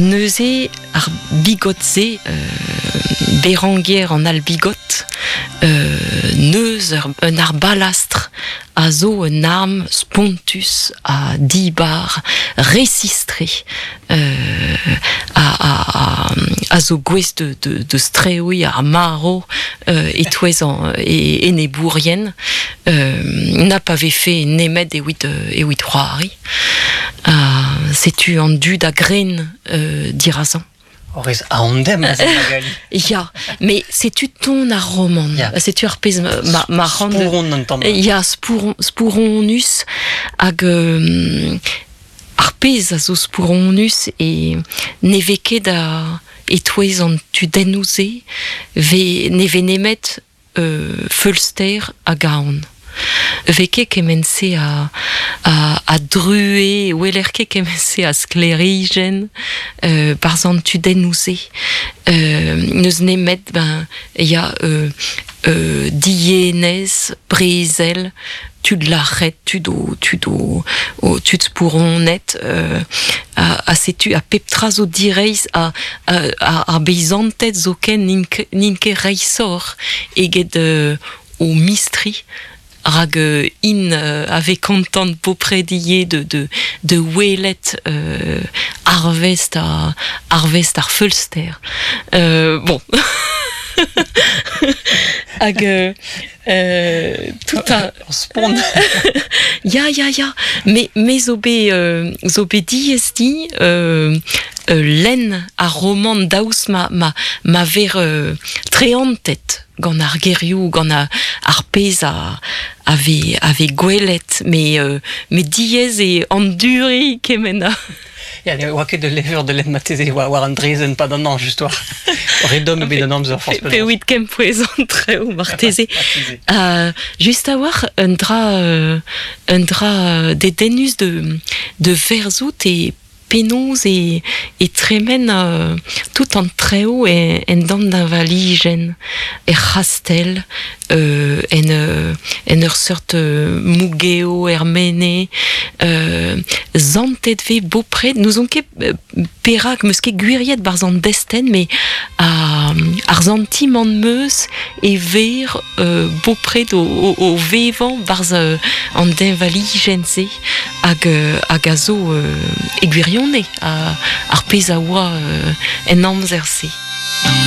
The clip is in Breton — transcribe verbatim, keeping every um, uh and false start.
Neuze ar bigot-se, euh, Berenguer an albigot, euh, neuz ur, un ar balastr a zo un arm spontus a dibar resistre euh, a, a, a, a zo gwez de, de, de streoui ar maro euh, etouez an e, enebourien euh, n'a pas fait nemet ewit, ewit c'hoari. Uh, setu an dud a gren euh, dirazan. Orez a ondem a Magali. Ya, mais setu ton ar roman. Ya. Setu ar pezh ma, ma ran... Spouron an tamm. Ya, spouron, spouronus hag euh, ar pezh a zo spouronus e ne ve ket a etouez an tudennoù-se ve ne ve nemet euh, feulster hag aon. Ve ket kement-se a, a, a drue, weler ket kement-se a sklerijen euh, barz an tudennoù-se. Euh, neus nemet, ben, ya euh, euh, dienez, brezel, tud lac'het, tud o, tud o, o tud spouronet, euh, a, a setu a pep tra zo direiz a, a, a, ar beizanted zo ken n'int ket reizor eget euh, o mistri rag euh, in euh, ave kontant bopredie de, de, de welet euh, arvest a, arvest ar feulster. Euh, bon. Hag euh, euh, tout un... Spont. Ya, ya, ya. Mais, mais zo bet, euh, zo bet diez di, euh, euh, lenn ar roman daous ma, ma, ma ver euh, treantet gant ar gerioù, gant ar, ar pezh a, ave, ave gwelet, mais, euh, mais diez e anduri kement a. Ya, ne oa ket de lever de lenn mateze war, war an drezen pa d'an an, just war. Redom bet an amzer forz Pe oit kempouez an treo marteze. Marteze. Euh, just a war un dra, euh, un dra euh, dedennus de, de verzout e penaos e, e tremen euh, tout an treo e, en dant d'un valijen, er c'hastell, euh, en, euh, en ur seurt euh, mougeo, er mene, euh, zantet ve bopred, nous on ket euh, perak, meus ket gwiriet barz an desten, mais a, ar zantimant meus e ver euh, bopred o, o, o vevan barz euh, an den valijen-se hag, euh, hag a zo euh, e gwirione a, ar pezh a oa euh, en amzer-se.